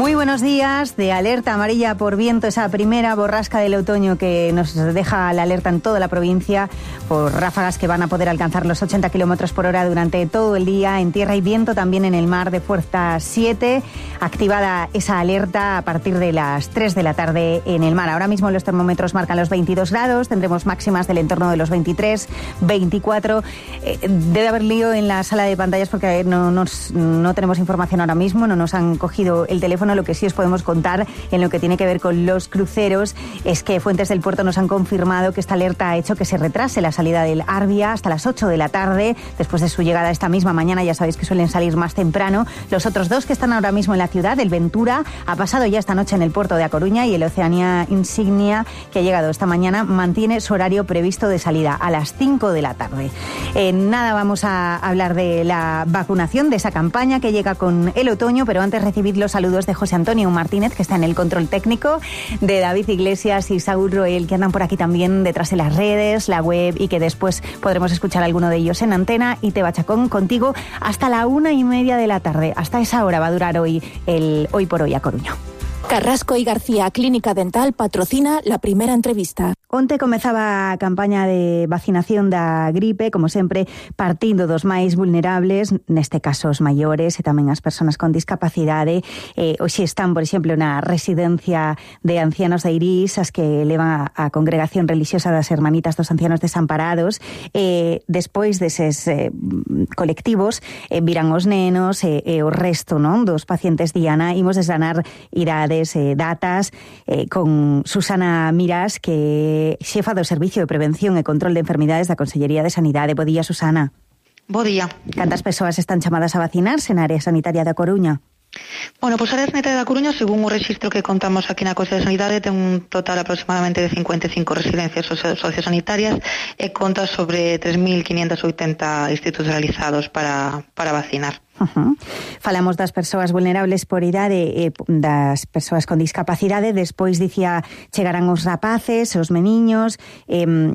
Muy buenos días. De alerta amarilla por viento, esa primera borrasca del otoño que nos deja la alerta en toda la provincia por ráfagas que van a poder alcanzar los 80 kilómetros por hora durante todo el día en tierra y viento, también en el mar de fuerza 7. Activada esa alerta a partir de las 3 de la tarde en el mar. Ahora mismo los termómetros marcan los 22 grados, tendremos máximas del entorno de los 23, 24. Debe haber lío en la sala de pantallas porque no tenemos información ahora mismo, no nos han cogido el teléfono. Lo que sí os podemos contar en lo que tiene que ver con los cruceros es que fuentes del puerto nos han confirmado que esta alerta ha hecho que se retrase la salida del Arbia hasta las 8 de la tarde, después de su llegada esta misma mañana. Ya sabéis que suelen salir más temprano. Los otros dos que están ahora mismo en la ciudad, el Ventura, ha pasado ya esta noche en el puerto de A Coruña, y el Oceania Insignia, que ha llegado esta mañana, mantiene su horario previsto de salida a las 5 de la tarde. Nada, vamos a hablar de la vacunación, de esa campaña que llega con el otoño, pero antes recibid los saludos de José Antonio Martínez, que está en el control técnico, de David Iglesias y Saúl Roel, que andan por aquí también detrás de las redes, la web, y que después podremos escuchar a alguno de ellos en antena. Y Teba Chacón contigo hasta la 1:30 de la tarde. Hasta esa hora va a durar hoy el Hoy por Hoy a Coruña. Carrasco y García Clínica Dental patrocina la primera entrevista. Onte comezaba a campaña de vacinación da gripe, como sempre, partindo dos máis vulnerables, neste caso os maiores e tamén as persoas con discapacidade. Hoxe están, por exemplo, na residencia de ancianos de Irís, as que levan a congregación religiosa das Hermanitas dos Ancianos Desamparados. Despois deses colectivos viran os nenos e o resto, non, dos pacientes Diana. Imos desgranar idades e datas con Susana Mirás, que xefa do Servicio de Prevención e Control de Enfermidades da Consellería de Sanidade. Bo día, Susana. Bo día. Cantas persoas están chamadas a vacinarse na área sanitaria da Coruña? Bueno, pois a área sanitaria da Coruña, según o rexistro que contamos aquí na Consellería de Sanidade, ten un total aproximadamente de 55 residencias sociosanitarias e conta sobre 3.580 institucionalizados para vacinar. Falamos das persoas vulnerables por idade, das persoas con discapacidade. Despois dicía chegarán os rapaces, os meniños,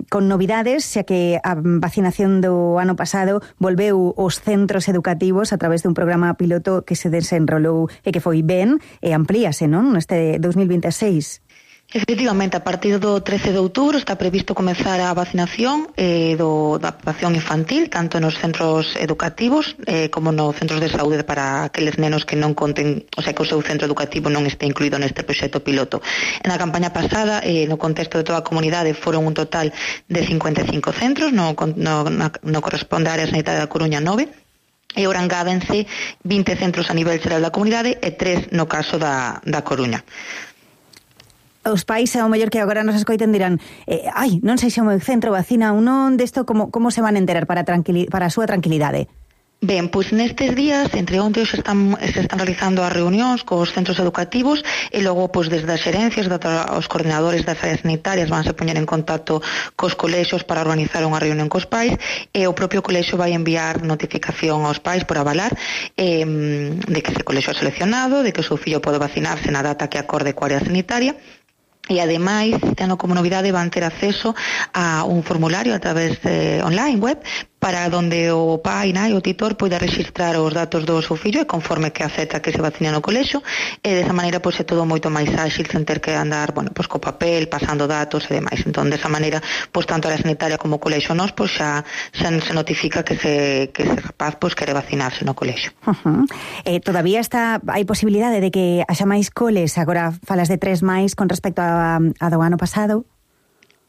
con novidades, xa que a vacinación do ano pasado volveu os centros educativos a través dun programa piloto que se desenrolou e que foi ben, e amplíase, non, neste 2026. Efectivamente, a partir do 13 de outubro está previsto comezar a vacinación da población infantil, tanto nos centros educativos como nos centros de saúde, para aqueles nenos que non conten, o sea, que o seu centro educativo non este incluído neste proxecto piloto. Na campaña pasada, no contexto de toda a comunidade, foron un total de 55 centros, no corresponde á área sanitaria da Coruña 9, e ora engádense 20 centros a nivel xeral da comunidade e 3 no caso da Coruña. Os pais, ao mellor que agora nos escoiten, dirán non sei se o meu centro vacina ou non, desto como se van enterar para a súa tranquilidade? Ben, pois nestes días, entre onte se están realizando as reunións cos centros educativos, e logo, pois desde as xerencias, os coordinadores das áreas sanitarias vanse poñer en contacto cos colexios para organizar unha reunión cos pais, e o propio colexio vai enviar notificación aos pais por avalar de que ese colexio é seleccionado, de que o seu fillo pode vacinarse na data que acorde coa área sanitaria. E ademais, tendo como novidade, van ter acceso a un formulario a través online web, para donde o pai, nai, o titor poida registrar os datos do seu fillo, e conforme que acepta que se vacine no colexio, e desa maneira pois é todo moito máis áxil, sen ter que andar, pois co papel, pasando datos e demais. Entón, desa maneira, pois tanto a área sanitaria como o colexio nós, pois xa se notifica que ese rapaz pois quere vacinarse no colexio. Todavía hai posibilidade de que haxa máis coles, agora falas de 3 máis con respecto a do ano pasado?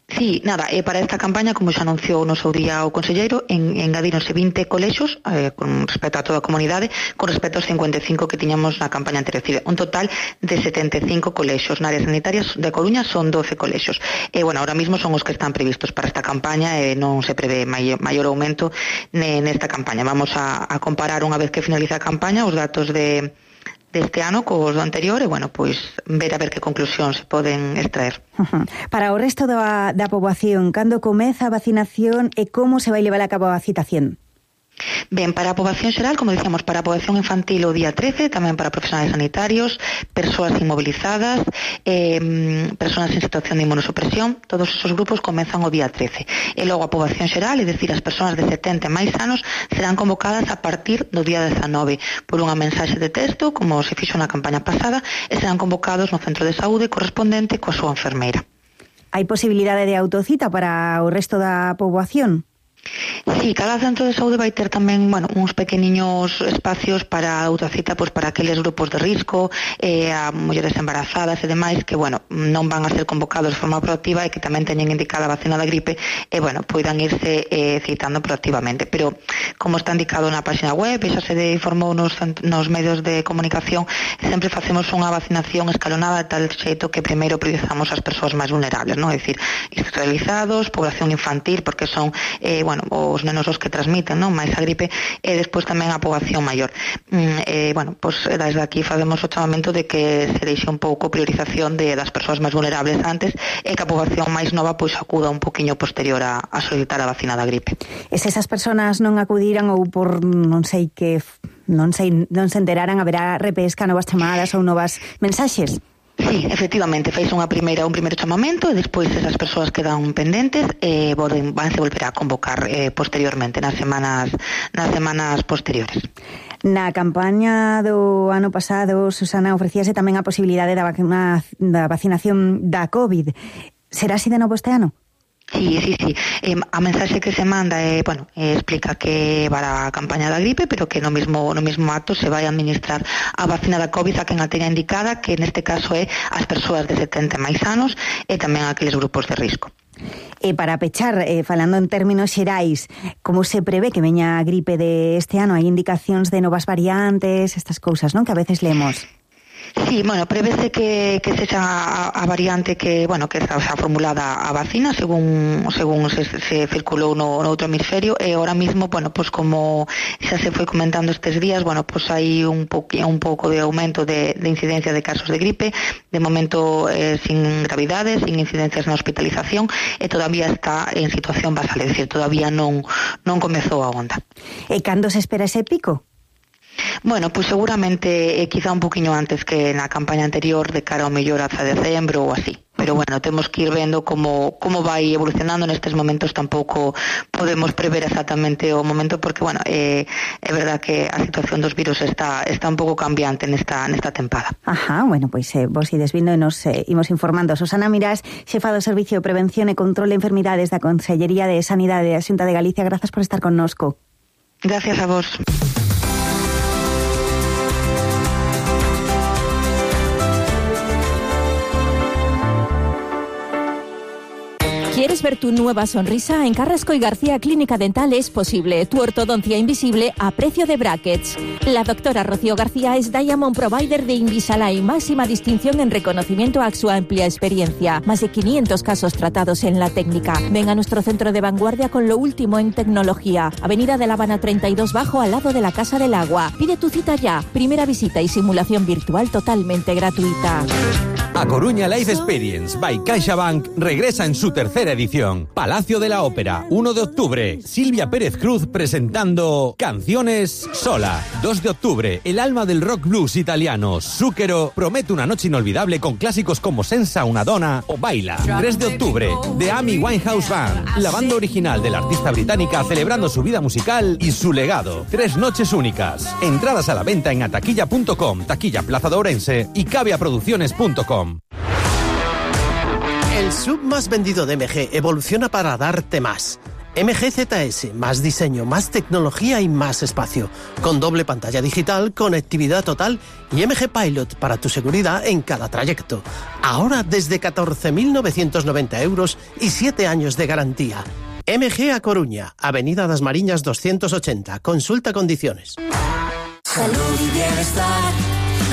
Sí, nada, para esta campaña, como xa anunciou no seu día o conselleiro, engadíronse 20 colexios con respecto a toda a comunidade, con respecto aos 55 que tiñamos na campaña anterior. Un total de 75 colexios. Na área sanitaria de Coruña son 12 colexios. E, bueno, ahora mismo son os que están previstos para esta campaña, e non se prevé maior aumento nesta campaña. Vamos a comparar unha vez que finalice a campaña os datos deste ano cos do anterior, e, bueno, pois ver a ver que conclusións se poden extraer. Para o resto da poboación, cando comeza a vacinación e como se vai levar a cabo a citación? Ben, para a poboación xeral, como dicíamos, para a poboación infantil o día 13, tamén para profesionales sanitarios, persoas inmovilizadas, persoas en situación de inmunosupresión, todos esos grupos comenzan o día 13. E logo a poboación xeral, é dicir, as persoas de 70 e máis anos, serán convocadas a partir do día 19 por unha mensaxe de texto, como se fixo na campaña pasada, e serán convocados no centro de saúde correspondente coa súa enfermeira. Hai posibilidade de autocita para o resto da poboación? Sí, cada centro de saúde vai ter tamén, uns pequeniños espacios para autocita, pois para aqueles grupos de risco, a mulleres embarazadas e demais que, non van a ser convocados de forma proactiva e que tamén teñen indicada a vacina da gripe e, poidan irse citando proactivamente. Pero, como está indicado na página web e xa se informou nos medios de comunicación, sempre facemos unha vacinación escalonada de tal xeito que primeiro priorizamos as persoas máis vulnerables, non? É dicir, institucionalizados, población infantil, porque son os nenos os que transmiten, non, máis a gripe, e despois tamén a poboación maior. Desde aquí facemos o chamamento de que se deixe un pouco priorización das persoas máis vulnerables antes e que a poboación máis nova acuda un poquinho posterior a solicitar a vacina da gripe. E se esas persoas non acudiran ou por non se enteraran, haberá repesca, novas chamadas ou novas mensaxes? Sí, efectivamente, fais un primeiro chamamento e despois esas persoas quedan pendentes e vanse volver a convocar posteriormente nas semanas posteriores. Na campaña do ano pasado, Susana, ofrecíase tamén a posibilidade da vacinación da COVID. Será así de novo este ano? Sí. A mensaxe que se manda explica que para a campaña da gripe, pero que no mismo acto se vai administrar a vacina da COVID a quen a teña indicada, que neste caso é as persoas de 70 máis anos e tamén aqueles grupos de risco. E para pechar, falando en términos xerais, como se prevé que veña a gripe de este ano? Hai indicacións de novas variantes, estas cousas, non? Que a veces lemos. Sí, prevese que sexa a variante que está formulada a vacina según se circulou no outro hemisferio e ahora mismo, como xa se foi comentando estes días, hai un pouco de aumento de incidencia de casos de gripe, de momento sin gravidades, sin incidencias na hospitalización e todavía está en situación basal, é dicir, todavía non comezou a onda. E cando se espera ese pico? Seguramente quizá un poquinho antes que na campaña anterior, de cara ao mellor ata decembro ou así. Pero temos que ir vendo como vai evolucionando. Nestes momentos tampouco podemos prever exactamente o momento porque, é verdad que a situación dos virus está un pouco cambiante nesta tempada. Ajá, vos ides vindo e nos imos informando. Susana Mirás, xefa do Servicio de Prevención e Control de Enfermidades da Consellería de Sanidade da Xunta de Galicia, grazas por estar connosco. Gracias a vos. ¿Quieres ver tu nueva sonrisa? En Carrasco y García Clínica Dental es posible. Tu ortodoncia invisible a precio de brackets. La doctora Rocío García es Diamond Provider de Invisalign, máxima distinción en reconocimiento a su amplia experiencia. Más de 500 casos tratados en la técnica. Ven a nuestro centro de vanguardia con lo último en tecnología. Avenida de La Habana 32 Bajo, al lado de la Casa del Agua. Pide tu cita ya. Primera visita y simulación virtual totalmente gratuita. A Coruña Life Experience by CaixaBank regresa en su tercera edición. Palacio de la Ópera, 1 de octubre. Silvia Pérez Cruz presentando Canciones Sola. 2 de octubre, el alma del rock blues italiano, Zucchero, promete una noche inolvidable con clásicos como Senza una donna o Baila. 3 de octubre, The Amy Winehouse Band, la banda original de la artista británica celebrando su vida musical y su legado. 3 noches únicas. Entradas a la venta en ataquilla.com, Taquilla Plaza de Ourense y caviaproducciones.com. El sub más vendido de MG evoluciona para darte más. MG ZS, más diseño, más tecnología y más espacio. Con doble pantalla digital, conectividad total y MG Pilot para tu seguridad en cada trayecto. Ahora desde 14.990 euros y 7 años de garantía. MG a Coruña, Avenida das Mariñas 280. Consulta condiciones. Salud y bienestar.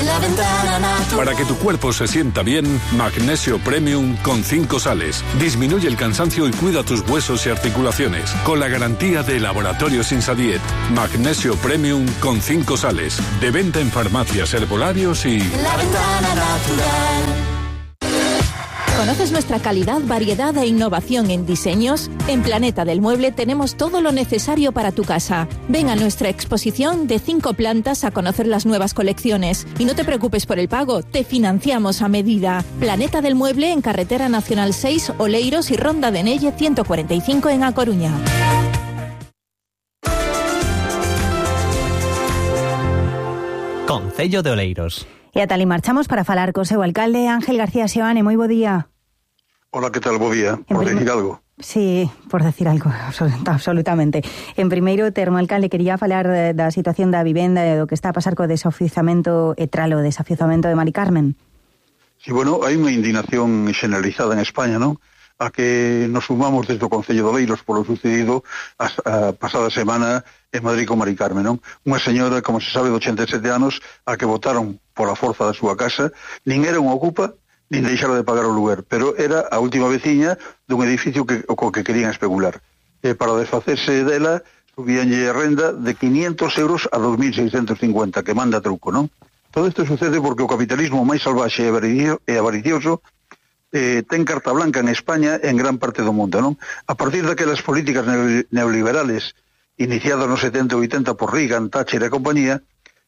La Ventana Natural. Para que tu cuerpo se sienta bien, Magnesio Premium con 5 sales. Disminuye el cansancio y cuida tus huesos y articulaciones. Con la garantía de Laboratorios Insadiet. Magnesio Premium con 5 sales. De venta en farmacias, herbolarios y... La Ventana Natural. ¿Conoces nuestra calidad, variedad e innovación en diseños? En Planeta del Mueble tenemos todo lo necesario para tu casa. Ven a nuestra exposición de 5 plantas a conocer las nuevas colecciones. Y no te preocupes por el pago, te financiamos a medida. Planeta del Mueble en Carretera Nacional 6, Oleiros y Ronda de Nelle 145 en A Coruña. Concello de Oleiros. E ata ali marchamos para falar co seu alcalde Ángel García Seoane. Moi bo día. Hola, que tal? Bo día. Por decir algo. Sí, por decir algo, absolutamente. En primeiro termo, alcalde, quería falar da situación da vivenda e do que está a pasar co desafiuzamento e tralo desafiuzamento de Mari Carmen. Sí, bueno, hai unha indignación generalizada en España, non? A que nos sumamos desde o Concello de Oleiros polo sucedido a pasada semana en Madrid con Mari Carmen, non? Unha señora, como se sabe, de 87 anos, a que votaron pola forza da súa casa, nin era unha ocupa, nin deixara de pagar o lugar, pero era a última veciña dun edificio co que querían especular. Para desfacerse dela, subíanlle a renda de 500 euros a 2.650, que manda truco, non? Todo isto sucede porque o capitalismo máis salvaxe e avaricioso ten carta blanca en España e en gran parte do mundo, non? A partir daquelas políticas neoliberales iniciadas nos 70 e 80 por Reagan, Thatcher e compañía,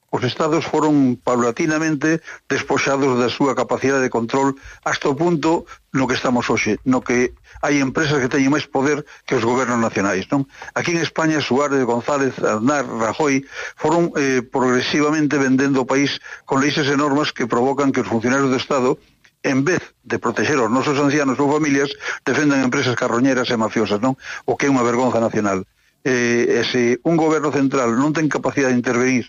os estados foron paulatinamente despoxados da súa capacidade de control hasta o punto no que estamos hoxe, no que hai empresas que teñen máis poder que os gobernos nacionais, non? Aquí en España, Suárez, González, Aznar, Rajoy foron progresivamente vendendo o país con leis e normas que provocan que os funcionarios do Estado, en vez de proteger os nosos ancianos ou familias, defendan empresas carroñeras e mafiosas, non? O que é unha vergonza nacional. Se un goberno central non ten capacidade de intervenir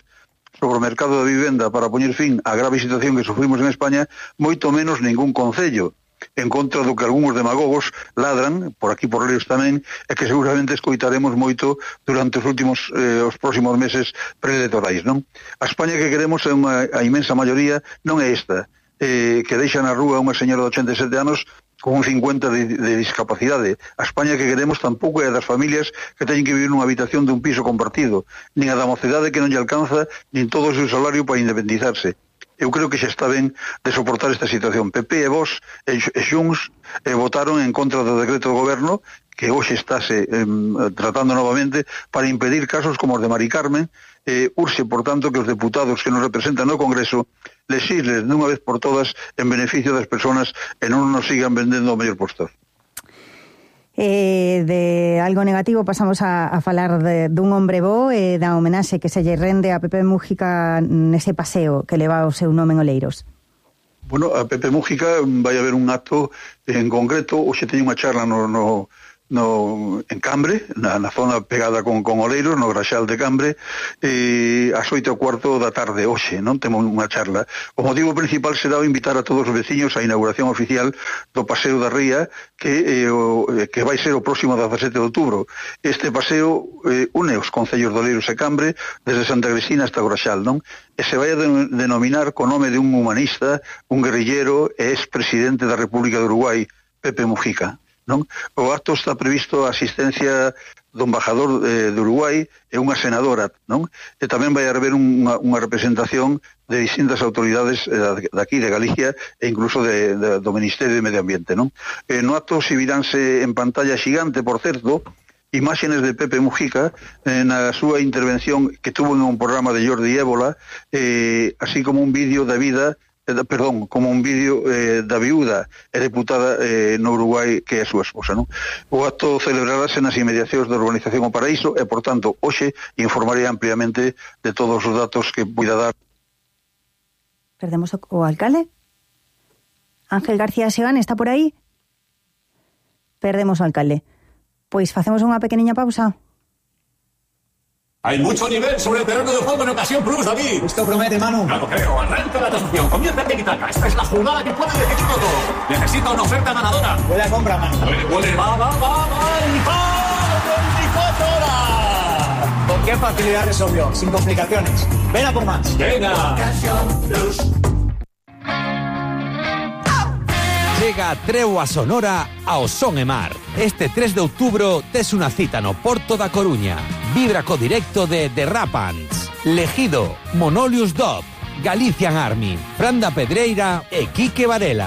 sobre o mercado da vivenda para poñer fin á grave situación que sufrimos en España, moito menos ningún concello, en contra do que algúns demagogos ladran, por aquí por Oleiros tamén, e que seguramente escoitaremos moito durante os próximos meses preeletorais, non? A España que queremos é a inmensa maioría, non é esta, que deixa na rúa unha señora de 87 anos con un 50 de discapacidade. A España que queremos tampouco é das familias que teñen que vivir nunha habitación dun piso compartido, nin a da mocedade que non lle alcanza nin todo o seu salario para independizarse. Eu creo que xa está ben de soportar esta situación. PP e Vox e Xunts votaron en contra do decreto do goberno que hoxe estáse tratando novamente para impedir casos como os de Mari Carmen. Urxe, por tanto, que os deputados que nos representan no Congreso lesisles dunha vez por todas en beneficio das persoas e non nos sigan vendendo o mellor postor. De algo negativo pasamos a falar dun hombre bo e da homenaxe que se lle rende a Pepe Mújica nese paseo que leva o seu nome en Oleiros. Bueno, a Pepe Mújica vai haber un acto en concreto, hoxe teño unha charla en Cambre, na zona pegada con Oleiros, no Graxal de Cambre, ás 8:15 da tarde hoxe, non temos unha charla. O motivo principal será invitar a todos os veciños á inauguración oficial do Paseo da Ría, que vai ser o próximo 17 de outubro. Este paseo une os concellos de Oleiros e Cambre desde Santa Cristina hasta o Graxal, non? E se vai a denominar co nome de un humanista, un guerrillero e ex-presidente da República de Uruguai, Pepe Mújica. Non? O acto está previsto a asistencia do embajador de Uruguai e unha senadora, non? E tamén vai haber unha representación de distintas autoridades daqui de Galicia e incluso do Ministerio de Medio Ambiente, non? No acto exhibiránse en pantalla xigante, por certo, imágenes de Pepe Mújica na súa intervención que tuvo en un programa de Jordi Ébola, así como un vídeo da vida como un vídeo da viúda e deputada no Uruguai que é a súa esposa, non? O acto celebrarase nas inmediacións da Urbanización O Paraíso e, por tanto, hoxe informaré ampliamente de todos os datos que puida dar. Perdemos o alcalde? Ángel García Seoane está por aí? Perdemos o alcalde. Pois facemos unha pequeniña pausa. Hay mucho nivel sobre el terreno de juego en Ocasión Plus, David. Esto promete, Manu. No lo creo. Arranca la transmisión. Comienza el Tiki-Taka. Esta es la jugada que puede decidirlo todo. Necesito una oferta ganadora. Huele a compra, Manu. Huele, va. ¡Y 24 horas! ¿Con qué facilidad resolvió? Sin complicaciones. Ven a por más. Venga. Ocasión Plus. Chega a Treboa Sonora ao Son e Mar. Este 3 de outubro tes unha cita no Porto da Coruña. Vibra co directo de The Rapants, Legido, Monolius Dub, Galician Army, Fran da Pedreira e Quique Varela.